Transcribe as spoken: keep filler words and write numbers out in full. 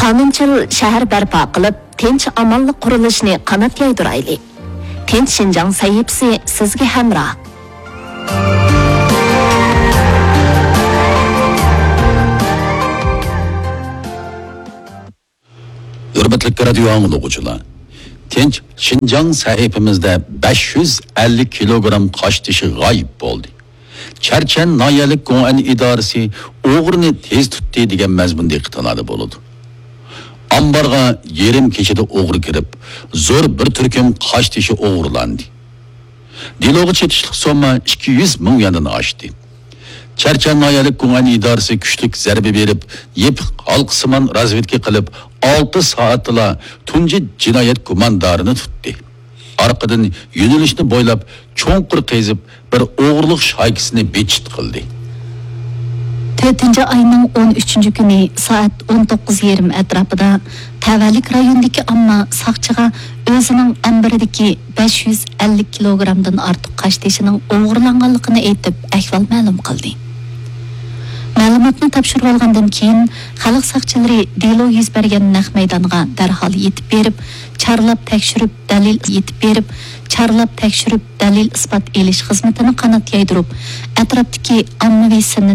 قانۇنچىل شەھەر بەرپا قىلىپ، تىنچ-ئامانلىق قۇرۇلۇشىنى قانات يايدۇرايلى. تىنچ شىنجاڭ سەھىپىسى سىزگە ھەمراھ. ھۆرمەتلىك رادىيو ئاڭلىغۇچىلار، تىنچ شىنجاڭ سەھىپىمىزدە بەش يۈز ئەللىك كىلوگرام قاشتېشى غايىب بولدى. چەرچەن ناھىيەلىك گوڭئەن ئىدارىسى ئوغرىنى تېز تۇتتى دېگەن مەزمۇندىكى خىتالاردا بولىدۇ. ئامبارغا يېرىم كېچىدە ئوغرى كىرىپ، زور بىر تۈركۈم قاشتېشى ئوغرىلاندى. دېلوغا چېتىشلىق سومما ئىككى يۈز مىڭ يۈەندىن ئاشتى. چەرچەن ناھىيەلىك گۇڭئەن ئىدارىسى كۈچلۈك زەربە بېرىپ، يېپىق ھالقىسىمان رازۋېدكا قىلىپ، ئالتە سائەتتىلا تۇنجى جىنايەت گۇماندارىنى تۇتتى. ئارقىدىن يۆنىلىشنى بويلاپ چوڭقۇر قېزىپ، بىر ئوغرىلىق شايكىسىنى بىتچىت قىلدى. تۆتىنچى ئاينىڭ ئون ئۈچىنچى كۈنى سائەت ئون توققۇز يېرىم ئەتراپىدا تەۋەلىك رايونىدىكى ئامما ساقچىغا ئۆزىنىڭ ئامبىرىدىكى بەش يۈز ئەللىك كىلوگرامدىن ئارتۇق قاشتېشىنىڭ ئوغرىلانغانلىقىنى ئېيتىپ، ئەھۋال مەلۇم قىلدى. مەلۇماتنى تاپشۇرۇۋالغاندىن كېيىن، خەلق ساقچىلىرى دېلو يۈز بەرگەن نەق مەيدانغا دەرھال يېتىپ بېرىپ، چارلاپ تەكشۈرۈپ، دەلىل يېتىپ بېرىپ، چارلاپ تەكشۈرۈپ، دەلىل ئىسپات ئېلىش خىزمىتىنى قانات يايدۇرۇپ، ئەتراپتىكى ئاممىۋى سىننى